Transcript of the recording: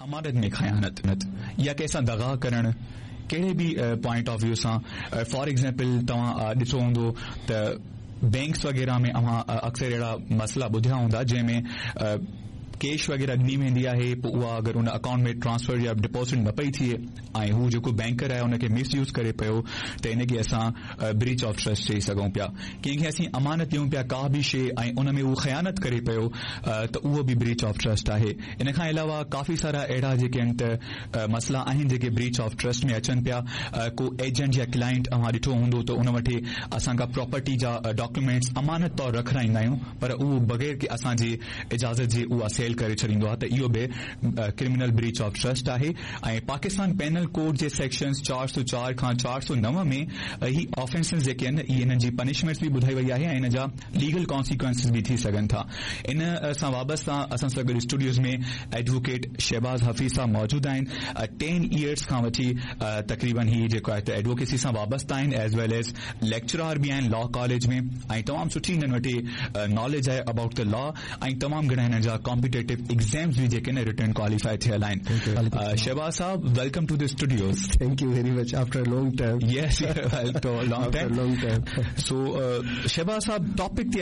امانت ۾ خيانت يا ڪنهن سان دغا ڪرڻ ڪهڙي به پوائنٽ آف ويو سان فار ايگزامپل توهان ڏٺو هوندو ته بينڪس وغيره ۾ اوهان اڪثر اهڙا مسئلا ٻڌيا هوندا جنهن ۾ ڪيش وغيره ڏني ويندي آهي پوء اها اگر ان اڪائونٽ ۾ ٽرانسفر يا ڊپازٽ نه پئي ٿئي ۽ هو جيڪو بينڪر آهي ان کي مس يوز ڪري پيو ته ان کي اسان بريچ آف ٽرسٽ چئي سگهون پيا. ڪنهن کي اسين امانت ڏيون پيا ڪا به شيء ۽ ان ۾ هو خيانت ڪري پيو ته اهو به بريچ آف ٽرسٽ آهي. ان کان علاوه ڪافي سارا اهڙا جيڪي آهن ته مسئلا آهن جيڪي بريچ آف ٽرسٽ ۾ اچن پيا. ڪو ايجنٽ يا ڪلائنٽ اوهان ڏٺو هوندو ته ان وٽ اسان ڪا پراپرٽي جا ڊاڪيومينٽس امانت طور رکرائيندا آهيون پر اهو بغير ڪنهن اسان جي اجازت جي اها سيل ڪري ڇڏيندو آهي ته اهو به ڪرمنل بريچ آف ٽرسٽ آهي ۽ پاڪستان پينل ڪوڊ جي سيڪشنز 404 کان 409 ۾ هي آفينسز جيڪي آهن اهي انهن جي پنشمينٽس به ٻڌائي وئي آهي ۽ ان جا ليگل ڪانسيڪوئنسز به ٿي سگهن ٿا ان سان وابسته اسان سان گڏ اسٽوڊيوز ۾ ايڊووڪيٽ شهباز حفيظ صاحب موجود آهن ٽين ايئرز کان وٺي تقريبن هي جيڪو آهي ته ايڊووڪيسي سان وابسته آهن ايز ويل ايز ليڪچرار به آهن لا ڪاليج ۾ ۽ تمام سٺي هنن وٽ ناليج آهي ابائوٽ the لا ۽ تمام گهڻا هنن جا ڪامپيٽيٽو ايگزامز به جيڪي آهن رٽن ڪواليفائي ٿيل آهن شهباز صاحب welcome to the studios. Thank you very much after long time. Yes long time. Long time. So Shahbaz صاحب ٽاپڪ تي